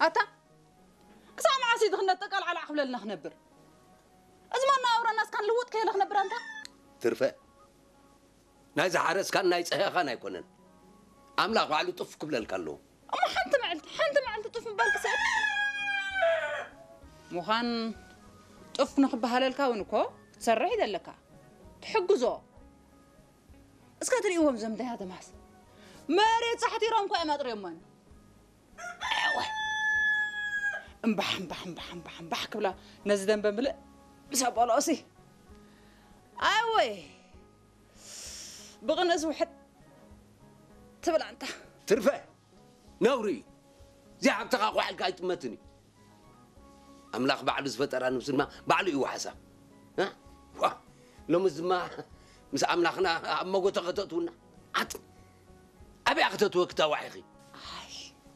ኣታ ክሳብ መዓስ እዩ ድኽነት ጠቃልዓላዕ ክብለልና ክነብር? እዚ መነባብሮና እስካ ንልውጥ ከየለ ክነብር ኣንታ? ትርፈ፣ ናይ ዝሓረስካን ናይ ጸህኻን ኣይኮነን። ኣምላኽ ባዕሉ ጡፍ ክብለልካ ኣለዎ። እሞ ሓንቲ መዓልቲ፣ ሓንቲ መዓልቲ ጡፍ ምባል ክስዕብ ምዃን፣ ጡፍ ንኽበሃለልካ እውን እኮ ክትሰርሕ እዩ ዘለካ። ትሕግዞ። እስከ ትርእይዎም ዘምዳያ ተማስ። መሬት ጻሕቲሮም እኮ እዮም ኣጥርዮሞን። ኣወ። እምባሕ፣ እምባሕ፣ እምባሕ፣ እምባሕ፣ እምባሕ ክብላ ነዚ ደንበ ምልእ ምስ ኣቦሎኦሲ። ኣወይ። ብቕንእስ ውሕጥ ትብል ኣንታ። ትርፈ። ነውሪ እዩ። እዚኣ ሃብትኻ ኳሕ ኢልካ ኣይጥመትን እዩ። ኣምላኽ ባዕሉ ዝፈጠራ ነብሲ ድማ ባዕሉ እዩ ዋሕሳ። እ? ዋ፣ ሎምስ ድማ ምስ ኣምላኽና ኣብ መጎተ ከተእትውና። ዓጥ፣ ኣበያ ከተእትወ ክታዋሕ ኢኺ?